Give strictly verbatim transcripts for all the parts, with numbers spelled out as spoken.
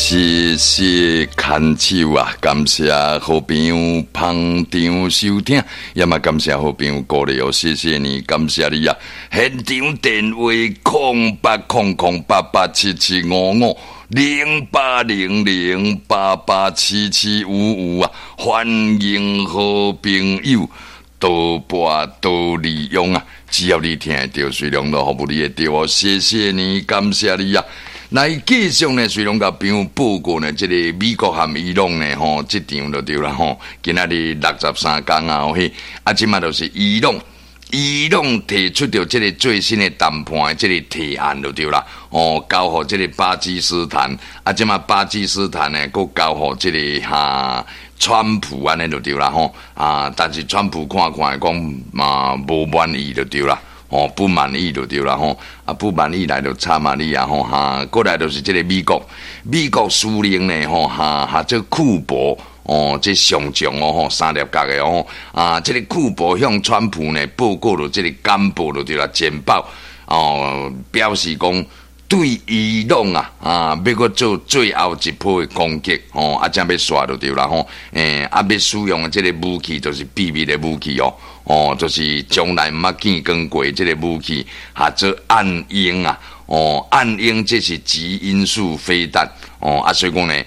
謝謝牽手啊！感謝好朋友捧場收聽，也嘛感謝好朋友鼓勵哦，謝謝你，感謝你啊！現場電話空八空空八八七七五五零八零零八八七七五五啊！歡迎好朋友多撥多利用啊！只要你聽會著，隨量都服務你會著哦！謝謝你，感謝你啊！來繼續呢，隨攏共朋友報告呢，這个美國和伊朗呢，吼，這場就對啦，吼，今仔日六十三工啊，嘿，啊，這馬就是伊朗，伊朗提出著這个最新的談判的這个提案就對啦，哦，交予這个巴基斯坦，啊，這馬巴基斯坦呢，閣交予這个哈川普按呢就對啦，吼，啊，但是川普看看講嘛無滿意就對啦。哦，不滿意就對啦吼，啊不滿意來就慘啊你啊吼哈，過來就是這个美國，美國司令呢吼哈，哈這庫珀哦，這上將哦吼，三粒角的哦，啊，這个庫珀向川普呢報告了這个簡報就對啦，簡報哦，表示講對伊朗啊啊，欲閣做最後一波的攻擊吼，啊，這欲煞就對啦吼，欸，啊，欲使用的這个武器就是秘密的武器哦。哦，就是從來毋捌見光過這个武器，哈做暗鷹啊！哦，暗鷹這是極音速飛彈哦，啊，所以講呢，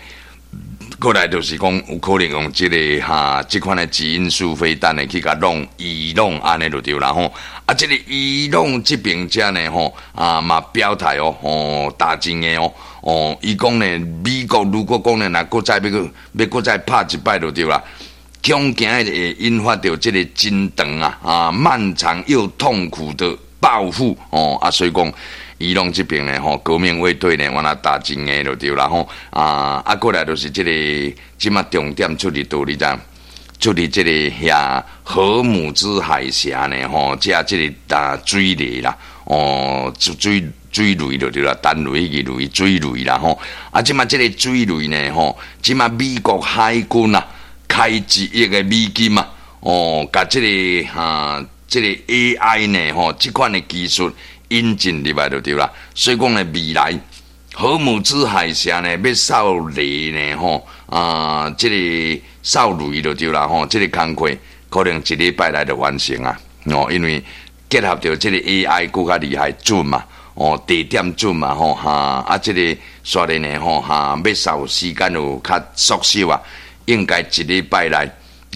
過來就是講有可能用這个哈，這款的極音速飛彈呢去共弄伊朗按呢就對啦吼。啊，這个伊朗這邊遮呢吼啊嘛表態哦，吼大真的哦，哦，伊講呢，美國如果講呢，若閣再欲閣欲閣再拍一擺就對啦。恐驚會引發著這个真長啊啊漫長又痛苦的報復哦啊，所以講伊朗這邊呢吼，革命衛隊呢，原來打真的就對啦吼啊啊，過來就是這个這馬重點出佇佗你知？出佇這个遐荷姆茲海峽呢吼，這這个打水雷啦哦，水水雷就對啦，彈雷彼個雷水雷啦吼啊，這馬這个水雷呢吼，這馬美國海軍啊，開一億的美金啊！哦，共這个哈，這个 A I 呢，吼，這款的技術引進入來就對啦。所以講呢，未來荷姆茲海峽呢，欲掃雷呢，吼啊，這个掃雷就對啦，吼，這个工課可能一禮拜內就完成啊！哦，因為結合著這个 A I 閣較厲害準嘛，哦，地點準嘛，吼哈，啊，這个煞咧呢，吼哈，欲掃時間有較縮小啊。應該一禮拜內，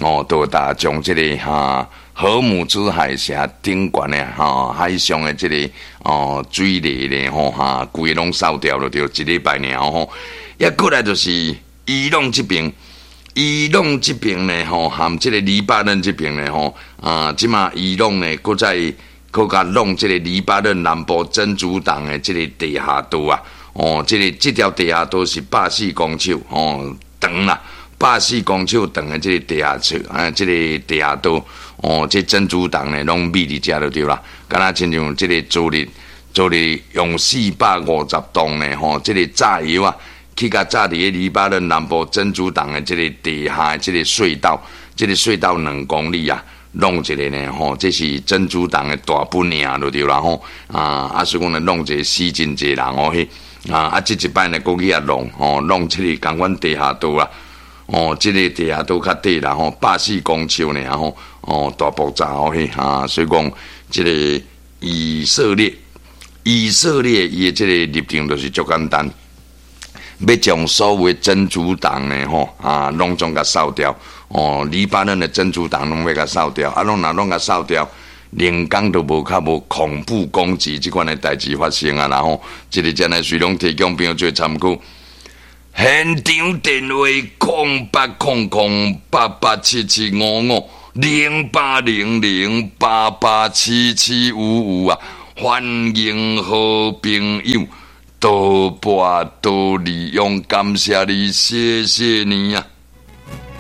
哦，就會將這个哈荷姆茲海峽頂懸的哈海上的這个哦水雷呢吼哈，規个攏掃掉了，就一禮拜爾吼。抑過來就是伊朗這邊，伊朗這邊呢吼，含這个黎巴嫩這邊呢吼啊，這馬伊朗呢，閣再閣共弄這个黎巴嫩南部真主黨的這个地下道啊，哦，這个這條地下道是百四公尺哦長啦。百四公尺長的這个地下室，啊，這个地下道，哦，這真主黨呢，攏秘佇遮就對啦。敢若親像這个昨日，昨日用四百五十噸呢，吼，這个炸藥啊，去共炸佇个黎巴嫩南部真主黨的這个地下的這个隧道，這个隧道兩公里啊，弄一个呢，吼，這是真主黨的大本營就對啦，吼，啊，啊，所以講呢，弄一个死真濟人哦，彼，啊，啊，這一擺呢，閣去遐弄，吼，弄這个仝款地下道啊。哦，這个地下道較短啦吼，百四公尺爾吼，哦，大爆炸哦彼哈，所以講這个以色列，以色列伊的這个立場就是足簡單，欲將所有真主黨呢吼啊，攏總共掃掉，哦，黎巴嫩的真主黨攏欲共掃掉，啊，攏若攏共掃掉，連工都無較無恐怖攻擊這款的代誌發生啊，然後這个真的隨攏提供朋友做參考。現場電話空八空空八八七七五五零八零零八八七七五五啊！歡迎好朋友多撥多利用，感謝你，謝謝你啊！